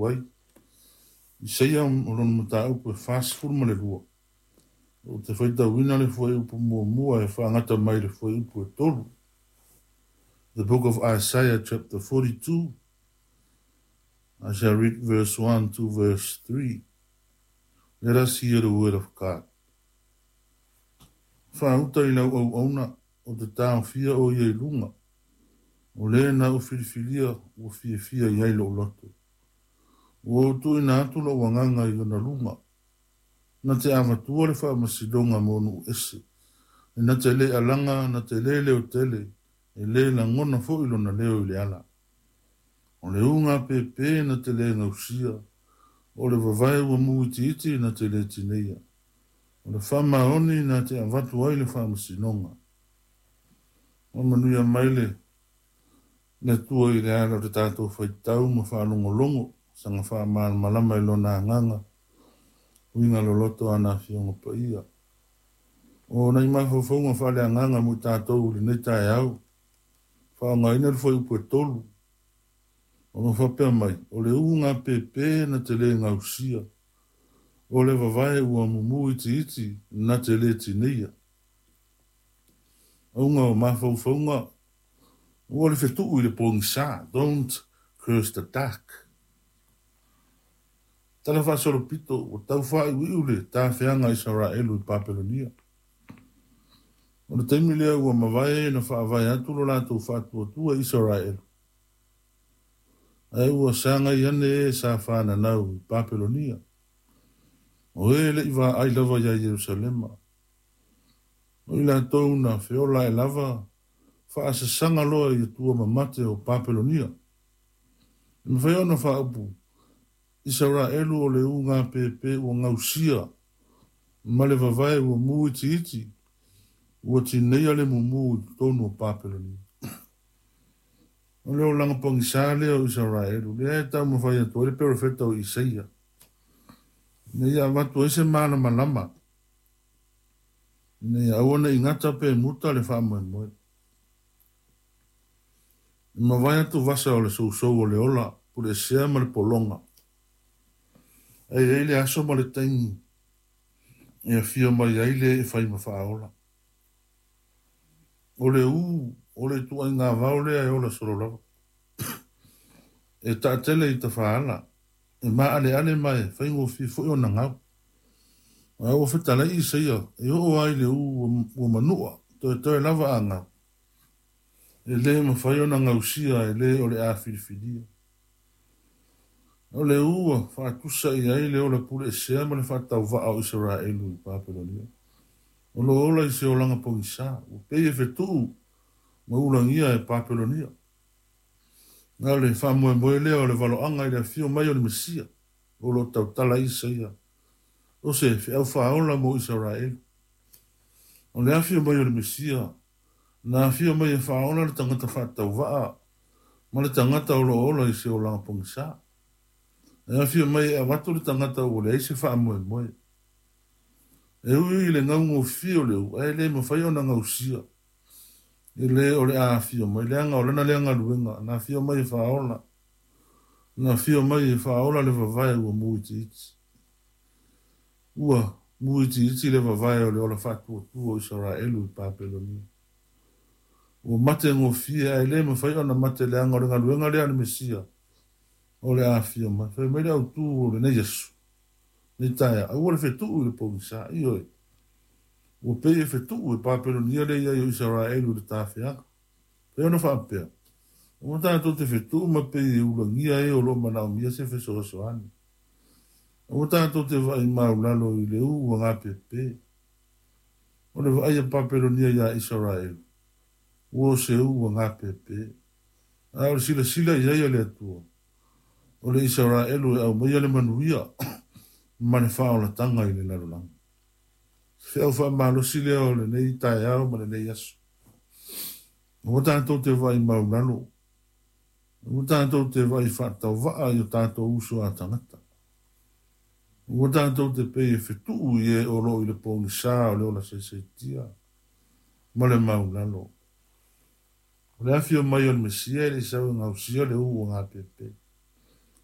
atu ai. Isaia o lona mataupu e 42. Ou te faitauina le fuaiupu muamua e faagata mai le fuaiupu e 3. The book of Isaiah chapter 42. I shall read verse 1 to verse 3. Let us hear the word of God. Faauta i lau auauna o te taofia o ia i luga. O le na ou filifilia ua fiafia i ai lou loto. Ua ou tuuina atu lou agaga i ona luga. Na te avatua le faamasinoga mo nuu ese. E na te le alaga, na te le leotele, e le lagona foi lona leo i le ala. O le uga pēpē na te le gausia, o le vavae ua mu itiiti na te le tineia. O le faamaoni na te avatu ai le faamasinoga. Faamanuia mai le Atua i le ala o le tatou faitau ma faalogologo, saga faamalamalama i lona agaga, uiga loloto a na afioga paia. O nai mafaufauga faaleagaga mo i tatou i lenei taeao, faaaogaina le fuaiupu e 3, o lo o faapea mai, o le uga pēpē na te le gausia, o le vavae ua mumu itiiti na te le tineia. Auga o mafaufauga, ua le fetuu i le pogisa, don't curse the dark. Tala faasolopito, ua tau faaiuiu le tafeaga a Isaraelu i Papelonia. O le taimi lea ua mavae na faavae atu lo latou faatuatua i Isaraelu. Ae ua sagai ane e sa whananau i Papelonia. O e le i vaai lava ia Ierusalema. O i latou na feola e lava faasasaga loa i atua mamate o Papelonia. E mafai ona faaupu Isaraelu o le uga pēpē ua gausia ma le vavae ua mu itiiti ua tineia le mumu i totonu o Papelonia. O le olaga pogisa lea o Isaraelu, lea e taumafai atu ai le perofeta o Isaia. Ina ia avatu ai se malamalama, ina ia aua ne i gata pe muta le faamoemoe. E mavae atu vasa o le sousou o le ola, puleesea ma le pologa. Ae i ai le aso ma le taimi e afio mai ai le e fai ma faaola. O le ū, o le ituaiga vao lea e ola solo lava. E taatele i tafaala, e maaleale ma e faigofie foi ona gau. Ae ua fetalai Isaia e oo ai le ū ua manua, toetoe lava a gau. E le mafai ona gausia e le o le a filifilia. O le ū ua faatusa i ai le ola puleesea ma le faatauvaa o Isaraelu i Papelonia. O lo o ola i se olaga pogisa, ua pei e fetuu ma ulagia e Papelonia. Na o le faamoemoe lea o le valoaga i le afio mai o le Mesia, o lo o tautala Isaia, o se feau faaola mo Isaraelu. O le afio mai o le Mesia, na afio mai e faaola le tagata faatauvaa ma le tagata o lo o ola i se olaga pogisa. E afio mai e avatu le tagata ua leai se faamoemoe. E ui i le gaugofie o le ū, ae le mafai ona gausia. E le o le a afio mai, leaga o lana lea galuega, na afio mai e faaola. Na afio mai e faaola le vavae ua mu itiiti. Ua mu itiiti le vavae o le ola faatuatua o Isaraelu i Papelonia. Ua mate gofie, ae le mafai ona mate leaga o le galuega lea a le Mesia o le a afio mai. Fai mai le autū o lenei aso, nei taeao, aua le fetuu i le pogisa, ioe. Ua pei e fetuu e Papelonia le i ai o Isaraelu i le tafeaga. Fai ona faapea, aua tatou te fetuu ma pei e ulagia e o lo o manaomia se fesoasoani. Aua tatou te vaai maulalo i le ū ua gapepe. O le vaai a Papelonia iā Isaraelu, ua o se ū ua gapepe. A o le silasila i ai a le Atua, o le Isaraelu e aumaia le manuia ma le faaolataga i le lalolagi. Se feau faamalosi lea o lenei taeao ma lenei aso. Aua tatou te vaai maulalo, aua tatou te vaai faatauvaa i o tatou uso a tagata. Aua tatou te pei e fetuu i e o lo o i le pogisa o le ola saisaitia ma le maulalo. O le afio mai o le Mesia e le i sau e gausia le ū ua gapepe.